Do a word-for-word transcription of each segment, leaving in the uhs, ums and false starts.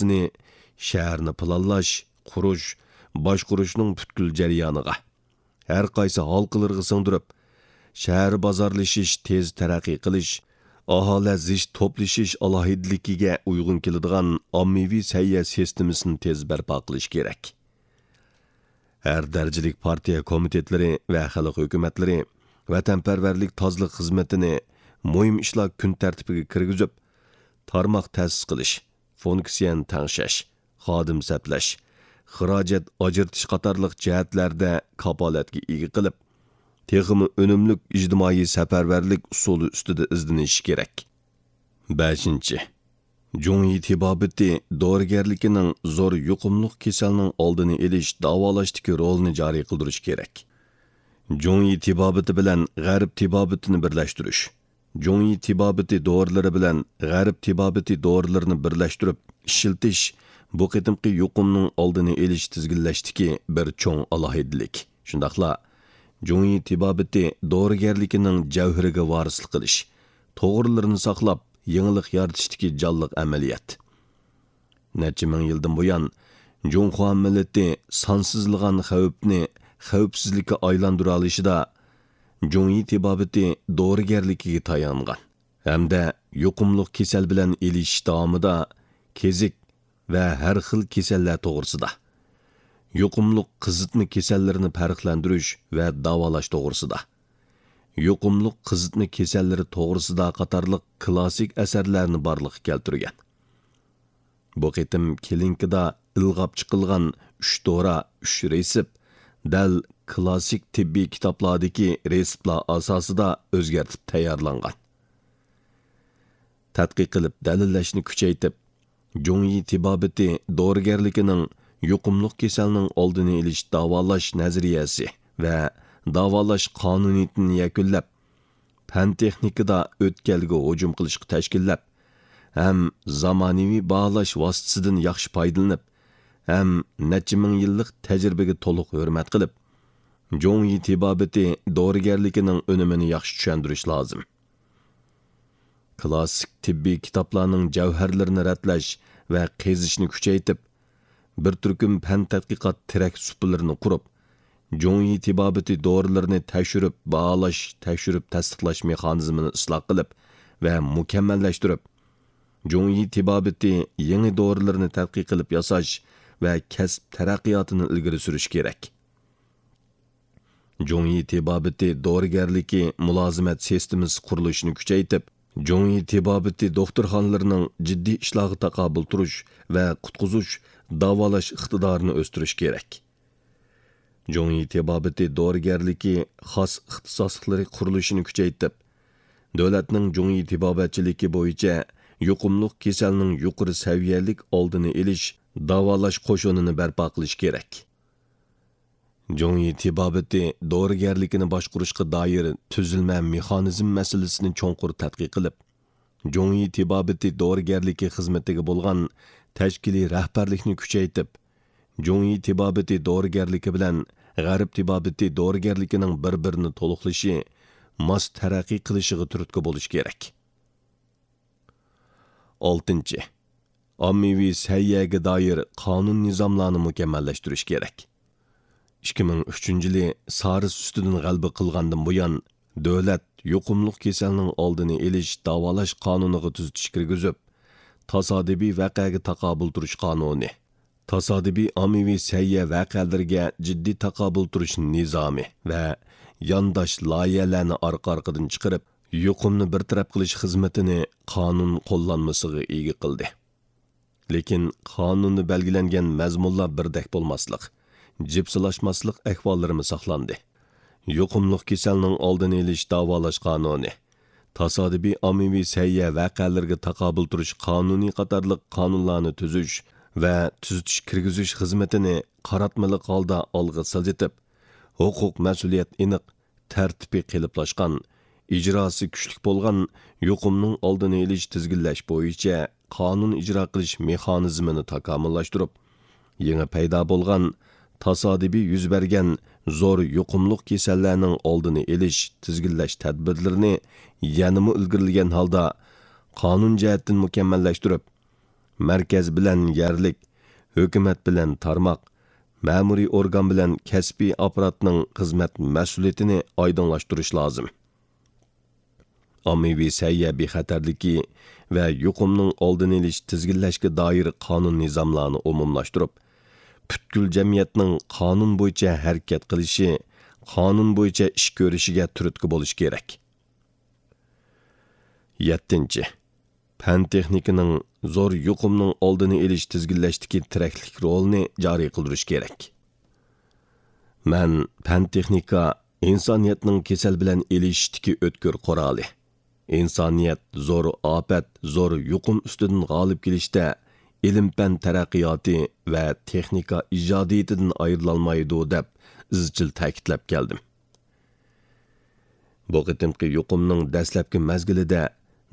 سىياسىتىنى شەھەرنى پىلانلاش، قۇرۇش، باشقۇرۇشنىڭ پۈتكۈل جەريانىغا، ھەر قايسى ھالقىلىرىغا سىڭدۈرۈپ، شەھەر بازارلىشىش تېز تەرەققىي قىلىش، ئاھالە زىچ توپلىشىش ئالاھىدىلىكىگە ئۇيغۇن كېلىدىغان ئاممىۋى سەھىيە سىستېمىسىنى تېز بەرپا قىلىش كېرەك. ھەر دەرىجىلىك پارتىيە كومىتېتلىرى ۋە خەلق ھۆكۈمەتلىرى ۋەتەنپەرۋەرلىك تازىلىق خىزمىتىنى مۇھىم ئىشلار كۈن تەرتىپىگە كىرگۈزۈپ، تارماق تەسىس قىلىش، فۇنكسىيەنى تەڭشەش، خادىم سەپلەش، خىراجەت ئاجرىتىش قاتارلىق جەھەتلەردە كاپالەتكە ئىگە قىلىپ، تېخىمۇ ئۈنۈملۈك ئىجتىمائىي سەپەرۋەرلىك ئۇسۇلى ئۈستىدە ئىزدىنىشى كېرەك. بەشىنچى، جۇڭيى تېبابىتى دورىگەرلىكىنىڭ زور يۇقۇملۇق كېسەلنىڭ ئالدىنى ئېلىش، داۋالاشتىكى رولىنى جارى قىلدۇرۇش كېرەك. جۇڭيى تېبابىتى بىلەن غەرب تېبابىتىنى بىرلەشتۈرۈش، جۇڭيى تېبابىتى دورىلىرى بىلەن غەرب تېبابىتى دورىلىرىنى بىرلەشتۈرۈپ ئىشلىتىش بۇ قېتىمقى يۇقۇمنىڭ ئالدىنى ئېلىش، تىزگىنلەشتىكى بىر چوڭ ئالاھىدىلىك. شۇنداقلا جۇڭيى تېبابىتى دورىگەرلىكىنىڭ جەۋھىرىگە ۋارىسلىق قىلىش، توغرىلىرىنى ساقلاپ، يېڭىلىق يارىتىشتىكى جانلىق ئەمەلىيەت. نەچچە مىڭ يىلدىن بۇيان، جۇڭخۇا مىللىتى سانسىزلىغان خەۋپنى خەۋپسىزلىككە ئايلاندۇرالىشىدا جۇڭيى تېبابىتى دورىگەرلىكىگە تايانغان ھەمدە يۇقۇملۇق كېسەل بىلەن ئېلىشىش داۋامىدا كېزىك ۋە ھەر خىل كېسەللەر توغرىسىدا، يۇقۇملۇق قىزىتما كېسەللىرىنى پەرقلەندۈرۈش ۋە داۋالاش توغرىسىدا، يۇقۇملۇق قىزىتما كېسەللىرى توغرىسىدا قاتارلىق كلاسسىك ئەسەرلەرنى بارلىققا كەلتۈرگەن. بۇ قېتىم كلىنىكىدا ئىلغاپ چىقىلغان ئۈچ دورا، ئۈچ رېتسېپ، دەل كلاسسىك تېببىي كىتابلاردىكى رېتسېپلار ئاساسىدا ئۆزگەرتىپ تەييارلانغان. تەتقىق قىلىپ دەلىللەشنى كۈچەيتىپ، جۇڭيى تېبابىتى دورىگەرلىكىنىڭ يۇقۇملۇق كېسەلنىڭ ئالدىنى ئېلىش داۋالاش نەزەرىيەسى ۋە داۋالاش قانۇنىيىتىنى يەكۈنلەپ، پەن تېخنىكىدا ئۆتكەلگە ھۇجۇم قىلىشقا تەشكىللەپ، ھەم زامانىۋى باھالاش ۋاسىتىسىدىن ياخشى پايدىلىنىپ، ھەم نەچچە مىڭ يىللىق تەجرىبىگە تولۇق ھۆرمەت قىلىپ، جۇڭيى تېبابىتى دورىگەرلىكىنىڭ ئۈنۈمىنى ياخشى چۈشەندۈرۈش لازىم. كلاسسىك تېببىي كىتابلارنىڭ جەۋھەرلىرىنى رەتلەش ۋە قېزىشنى كۈچەيتىپ، بىر تۈركۈم پەن تەتقىقات تىرەك سۇپىلىرىنى قۇرۇپ، جۇڭيى تېبابىتى دورىلىرىنى تەكشۈرۈپ باھالاش، تەكشۈرۈپ تەستىقلاش مېخانىزمىنى ئىسلاھ قىلىپ ۋە مۇكەممەللەشتۈرۈپ، جۇڭيى تېبابىتى يېڭى دورىلىرىنى تەتقىق قىلىپ ياساش ۋە كەسىپ تەرەققىياتىنى ئىلگىرى سۈرۈش كېرەك. جۇڭيى تېبابىتى دورىگەرلىكى مۇلازىمەت سىستېمىسى قۇرۇلۇشىنى كۈچەيتىپ، جۇڭيى تېبابىتى دوختۇرخانىلىرىنىڭ جىددىي ئىشلارغا تاقابىل تۇرۇش ۋە قۇتقۇزۇش، داۋالاش ئىقتىدارىنى ئۆستۈرۈش كېرەك. جۇڭيى تېبابىتى دورىگەرلىكى خاس ئىختىساسلىقلىرى قۇرۇلۇشىنى كۈچەيتىپ، دۆلەتنىڭ جۇڭيى تېبابەتچىلىكى بويىچە يۇقۇملۇق كېسەلنىڭ يۇقىرى سەۋىيەلىك ئالدىنى ئېلىش، داۋالاش قوشۇنىنى بەرپا قىلىش كېرەك. جۇڭيى تېبابىتى دورىگەرلىكىنى باشقۇرۇشقا دائىر تۈزۈلمە مېخانىزم مەسىلىسىنى چوڭقۇر تەتقىق قىلىپ، جۇڭيى تېبابىتى دورىگەرلىكى خىزمىتىگە بولغان تەشكىلىي رەھبەرلىكنى كۈچەيتىپ، جۇڭيى تېبابىتى دورىگەرلىكى بىلەن غەرب تېبابىتى دورىگەرلىكىنىڭ بىر-بىرىنى تولۇقلىشى، ماس تەرەققىي قىلىشىغا تۈرتكە بولۇش كېرەك. ئالتىنچى، ئاممىۋى سەھىيەگە دائىر قانۇن نىزاملارنى مۇكەممەللەشتۈرۈش كېرەك. ئىككى مىڭ ئۈچىنچى يىلى سارس ئۈستىدىن غەلىبە قىلغاندىن بۇيان، دۆلەت يۇقۇملۇق كېسەلنىڭ ئالدىنى ئېلىش، داۋالاش قانۇنىغا تۈزىتىش كىرگۈزۈپ، تاسادىپىي ۋەقەگە تاقابىل تۇرۇش قانۇنى، تاسادىپىي ئاممىۋى سەھىيە ۋەقەلىرىگە جىددىي تاقابىل تۇرۇش نىزامى ۋە يانداش لايىھەلەرنى ئارقا-ئارقىدىن چىقىرىپ، يۇقۇمنى بىر تەرەپ قىلىش خىزمىتىنى قانۇن قوللانمىسىغا ئىگە قىلدى. لېكىن قانۇندا بەلگىلەنگەن مەزمۇنلار بىردەك بولماسلىق، جىپسىلاشماسلىق ئەھۋاللىرىمۇ ساقلاندى. يۇقۇملۇق كېسەلنىڭ ئالدىنى ئېلىش داۋالاش قانۇنى، تاسادىپىي ئاممىۋى سەھىيە ۋەقەلىرىگە تاقابىل تۇرۇش قانۇنى قاتارلىق قانۇنلارنى تۈزۈش ۋە تۈزىتىش كىرگۈزۈش خىزمىتىنى قاراتمىلىق ھالدا ئالغا سىلجىتىپ، ھوقۇق مەسئۇلىيەت ئېنىق، تەرتىپى قېلىپلاشقان، ئىجراسى كۈچلۈك بولغان يۇقۇمنىڭ ئالدىنى ئېلىش، تىزگىنلەش بويىچە قانۇن ئىجرا قىلىش مېخانىزمىنى تاكامۇللاشتۇرۇپ، يېڭى پەيدا بولغان، تاسادىپىي يۈز بەرگەن زور يۇقۇملۇق كېسەللەرنىڭ ئالدىنى ئېلىش، تىزگىنلەش تەدبىرلىرىنى يەنىمۇ ئىلگىرىلىگەن ھالدا قانۇن جەھەتتىن مۇكەممەللەشتۈرۈپ، مەركەز بىلەن يەرلىك، ھۆكۈمەت بىلەن تارماق، مەمۇرىي ئورگان بىلەن كەسپىي ئاپپاراتنىڭ خىزمەت مەسئۇلىيىتىنى ئايدىڭلاشتۇرۇش لازىم. ئاممىۋى سەھىيە بىخەتەرلىكى ۋە يۇقۇمنىڭ ئالدىنى ئېلىش، تىزگىنلەشكە دائىر قانۇن نىزاملارنى ئومۇملاشتۇرۇپ، پۈتكۈل جەمئىيەتنىڭ قانۇن بويىچە ھەرىكەت قىلىشى، قانۇن بويىچە ئىش كۆرۈشىگە تۈرتكە بولۇش كېرەك. يەتتىنچى، پەن تېخنىكىنىڭ زور يۇقۇمنىڭ ئالدىنى ئېلىش، تىزگىنلەشتىكى تىرەكلىك رولىنى جارى قىلدۇرۇش كېرەك. مەن پەن تېخنىكا ئىنسانىيەتنىڭ كېسەل بىلەن ئېلىشىشتىكى ئۆتكۈر قورالى. ئىنسانىيەت زور ئاپەت، زور يۇقۇم ئۈستىدىن غالىب كېلىشتە ئىلىم-پەن تەرەققىياتى ۋە تېخنىكا ئىجادىيىتىدىن ئايرىلالمايدۇ، دەپ ئىزچىل تەكىتلەپ كەلدىم. بۇ قېتىمقى يۇقۇمنىڭ دەسلەپكى مەزگىلىدە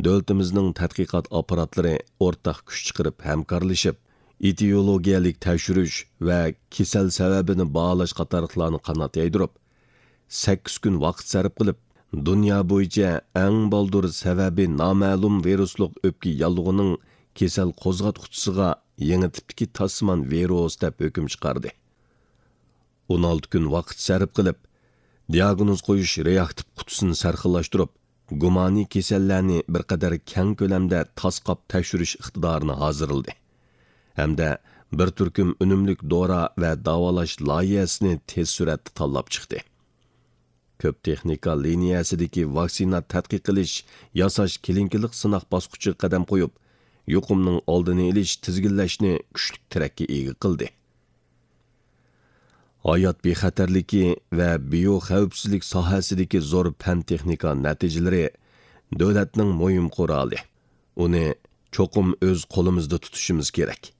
دۆلىتىمىزنىڭ تەتقىقات ئاپپاراتلىرى ئورتاق كۈچ چىقىرىپ ھەمكارلىشىپ، ئېتىيولوگىيەلىك تەكشۈرۈش ۋە كېسەل سەۋەبىنى باھالاش قاتارلىقلارنى قانات يايدۇرۇپ، سەككىز كۈن ۋاقىت سەرپ قىلىپ، دۇنيا بويىچە ئەڭ بالدۇر سەۋەبى نامەلۇم ۋىرۇسلۇق ئۆپكە ياللۇغىنىڭ كېسەل قوزغاتقۇچىسىغا يېڭى تىپتىكى تاشسىمان ۋىرۇس دەپ ھۆكۈم چىقاردى. ئون ئالتە كۈن ۋاقىت سەرپ قىلىپ، دىئاگنوز قويۇش رېئاكتىپ قۇتىسىنى سەرخىللاشتۇرۇپ، گۇمانىي كېسەللەرنى بىر قەدەر كەڭ كۆلەمدە تاسقاپ تەكشۈرۈش ئىقتىدارىنى ھازىرلىدى ھەمدە بىر تۈركۈم ئۈنۈملۈك دورا ۋە داۋالاش لايىھەسىنى تېز سۈرئەتتە تاللاپ چىقتى. كۆپ تېخنىكا لىنىيەسىدىكى ۋاكسىنا تەتقىق قىلىش، ياساش كلىنىكىلىق سىناق باسقۇچىغا قەدەم قويۇپ، يۇقۇمنىڭ ئالدىنى ئېلىش، تىزگىنلەشنى كۈچلۈك تىرەككە ئىگە قىلدى. ھايات بىخەتەرلىكى ۋە بىيو خەۋپسىزلىك ساھەسىدىكى زور پەن تېخنىكا نەتىجىلىرى دۆلەتنىڭ مۇھىم قورالى. ئۇنى چوقۇم ئۆز قولىمىزدا تۇتۇشىمىز كېرەك.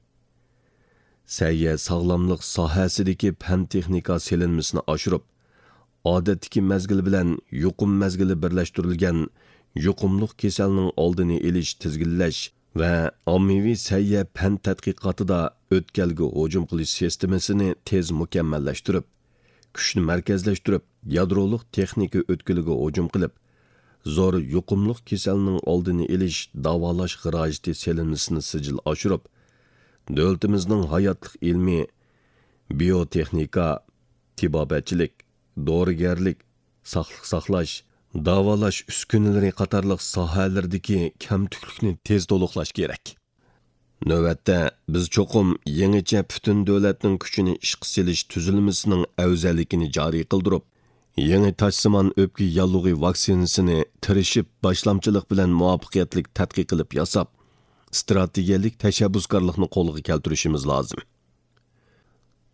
سەھىيە ساغلاملىق ساھەسىدىكى پەن تېخنىكا سېلىنمىسىنى ئاشۇرۇپ، ئادەتتىكى مەزگىل بىلەن يۇقۇم مەزگىلى بىرلەشتۈرۈلگەن يۇقۇملۇق كېسەلنىڭ ئالدىنى ئېلىش، تىزگىنلەش ۋە ئاممىۋى سەھىيە پەن تەتقىقاتىدا ئۆتكەلگە ھۇجۇم قىلىش سىستېمىسىنى تېز مۇكەممەللەشتۈرۈپ، كۈچنى مەركەزلەشتۈرۈپ، يادرولۇق تېخنىكا ئۆتكىلىگە ھۇجۇم قىلىپ، زور يۇقۇملۇق كېسەلنىڭ ئالدىنى ئېلىش، داۋالاش خىراجىتى سېلىنمىسىنى سىجىل ئاشۇرۇپ، دۆلىتىمىزنىڭ ھاياتلىق ئىلمى، بىيوتېخنىكا، تېبابەتچىلىك، دورىگەرلىك، ساقلىق ساقلاش، داۋالاش ئۈسكۈنىلىرى قاتارلىق ساھەلىرىدىكى كەمتۈكلۈكنى تېز تولۇقلاش كېرەك. نۆۋەتتە، بىز چوقۇم يېڭىچە پۈتۈن دۆلەتنىڭ كۈچىنى ئىشقا سېلىش تۈزۈلمىسىنىڭ ئەۋزەللىكىنى جارى قىلدۇرۇپ، يېڭى تاشسىمان ئۆپكە ياللۇغى ۋاكسىنىسىنى تىرىشىپ، باشلامچىلىق بىلەن مۇۋەپپەقىيەتلىك تەتقىق قىلىپ ياساپ، ئىستراتېگىيەلىك تەشەببۇسكارلىقنى قولغا كەلتۈرۈشىمىز لازىم.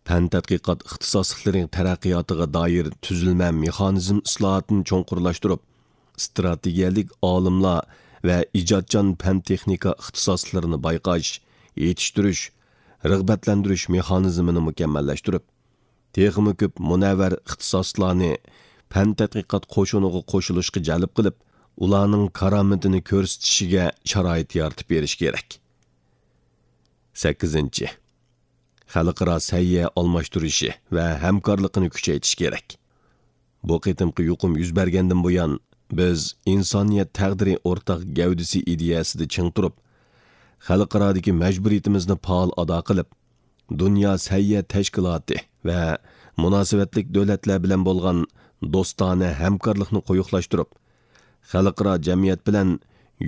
پەن تەتقىقات ئىختىساسلىقلىرى تەرەققىياتىغا دائىر تۈزۈلمە مېخانىزم ئىسلاھاتىنى چوڭقۇرلاشتۇرۇپ، ئىستراتېگىيەلىك ئالىملار ۋە ئىجادچان پەن تېخنىكا ئىختىساسلىرىنى بايقاش، يېتىشتۈرۈش، رىغبەتلەندۈرۈش مېخانىزمىنى مۇكەممەللەشتۈرۈپ، تېخىمۇ كۆپ مۇنەۋۋەر ئىختىساسلارنى پەن تەتقىقات قوشۇنىغا قوشۇلۇشقا جەلپ قىلىپ، ئۇلارنىڭ كارامىتىنى كۆرسىتىشىگە شارائىت يارىتىپ بېرىش كېرەك. سەككىزىنچى، خەلقئارا سەھىيە ئالماشتۇرۇشى ۋە ھەمكارلىقىنى كۈچەيتىش كېرەك. بۇ قېتىمقى يۇقۇم يۈز بەرگەندىن بۇيان، بىز ئىنسانىيەت تەقدىرى ئورتاق گەۋدىسى ئىدىيەسىدە چىڭ تۇرۇپ، خەلقئارادىكى مەجبۇرىيىتىمىزنى پائال ئادا قىلىپ، دۇنيا سەھىيە تەشكىلاتى ۋە مۇناسىۋەتلىك دۆلەتلەر بىلەن بولغان دوستانە ھەمكارلىقنى قويۇقلاشتۇرۇپ، خەلقئارا جەمئىيەت بىلەن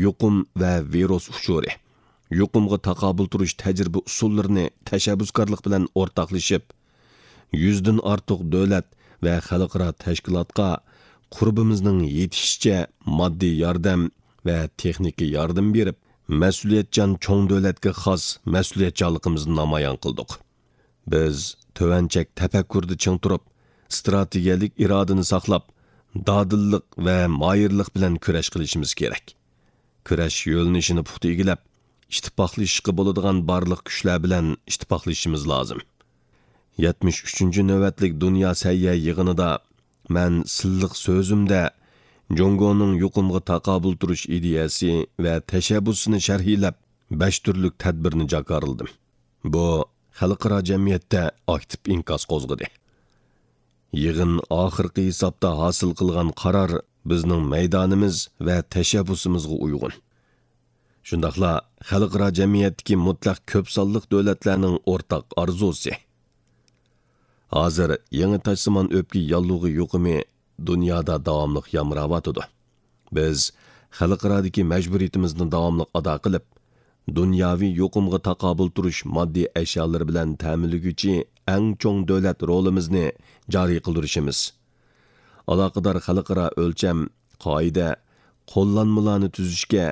يۇقۇم ۋە ۋىرۇس ئۇچۇرى، يۇقۇمغا تاقابىل تۇرۇش تەجرىبە ئۇسۇللىرىنى تەشەببۇسكارلىق بىلەن ئورتاقلىشىپ، يۈزدىن ئارتۇق دۆلەت ۋە خەلقئارا تەشكىلاتقا قۇربىمىزنىڭ يېتىشىچە ماددىي ياردەم ۋە تېخنىكا ياردىمى بېرىپ، مەسئۇلىيەتچان چوڭ دۆلەتكە خاس مەسئۇلىيەتچانلىقىمىزنى نامايان قىلدۇق. بىز تۆۋەن چەك تەپەككۇرىدا چىڭ تۇرۇپ، ئىستراتېگىيەلىك ئىرادىنى ساقلاپ، دادىللىق ۋە ماھىرلىق بىلەن كۈرەش قىلىشىمىز كېرەك. كۈرەش يۆنىلىشىنى پۇختا ئىگىلەپ، ئىتتىپاقلىشىشقا بولىدىغان بارلىق كۈچلەر بىلەن ئىتتىپاقلىشىشىمىز لازىم. يەتمىش ئۈچىنچى نۆۋەتلىك دۇنيا سەھىيە يىغىنىدا مەن سىلىق سۆزۈمدە جۇڭگونىڭ يۇقۇمغا تاقابىل تۇرۇش ئىدىيەسى ۋە تەشەببۇسىنى شەرھلەپ، بەش تۈرلۈك تەدبىرنى جاكارلىدىم. بۇ خەلقئارا جەمئىيەتتە ئاكتىپ ئىنكاس قوزغىدى. يىغىن ئاخىرقى ھېسابتا ھاسىل قىلغان قارار بىزنىڭ مەيدانىمىز ۋە تەشەببۇسىمىزغا ئۇيغۇن. شۇنداقلا خەلقئارا جەمئىيەتتىكى مۇتلەق كۆپ سانلىق دۆلەتلەرنىڭ ئورتاق ئارزۇسى. ھازىر يېڭى تاجسىمان ئۆپكە ياللۇغى يۇقۇمى دۇنيادا داۋاملىق يامراۋاتىدۇ. بىز خەلقئارادىكى مەجبۇرىيىتىمىزنى داۋاملىق ئادا قىلىپ، دۇنياۋى يۇقۇمغا تاقابىل تۇرۇش ماددىي ئەشيالىرى بىلەن تەمىنلىگۈچى ئەڭ چوڭ دۆلەت رولىمىزنى جارى قىلدۇرۇشىمىز، ئالاقىدار خەلقئارا ئۆلچەم، قائىدە، قوللانمىلارنى تۈزۈشكە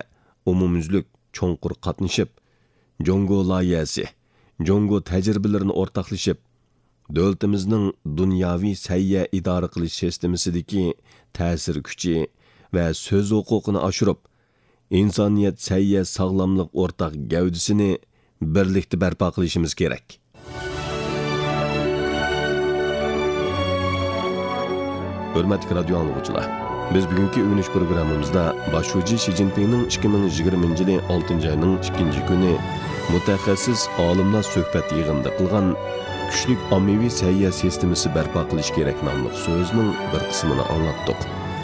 ئومۇميۈزلۈك چوڭقۇر قاتنىشىپ، جۇڭگو لايىھەسى، جۇڭگو تەجرىبىلىرىنى ئورتاقلىشىپ، دۆلىتىمىزنىڭ دۇنياۋى سەھىيە ئىدارە قىلىش سىستېمىسىدىكى تەسىر كۈچى ۋە سۆز ھوقۇقىنى ئاشۇرۇپ، ئىنسانىيەت سەھىيە ساغلاملىق ئورتاق گەۋدىسىنى بىرلىكتە بەرپا قىلىشىمىز كېرەك. ھۆرمەتلىك رادىيو ئاڭلىغۇچىلار، بىز بۈگۈنكى ئۆگىنىش پروگراممىمىزدا باش شۇجى شى جىنپىڭنىڭ ئىككى مىڭ يىگىرمىنچى يىلى ئالتىنچى ئاينىڭ ئىككىنچى كۈنى مۇتەخەسسىس ئالىملار سۆھبەت يىغىنىدا قىلغان «كۈچلۈك ئاممىۋى سەھىيە سىستېمىسى بەرپا قىلىش كېرەك» ناملىق سۆزىنىڭ بىر قىسمىنى ئاڭلاتتۇق.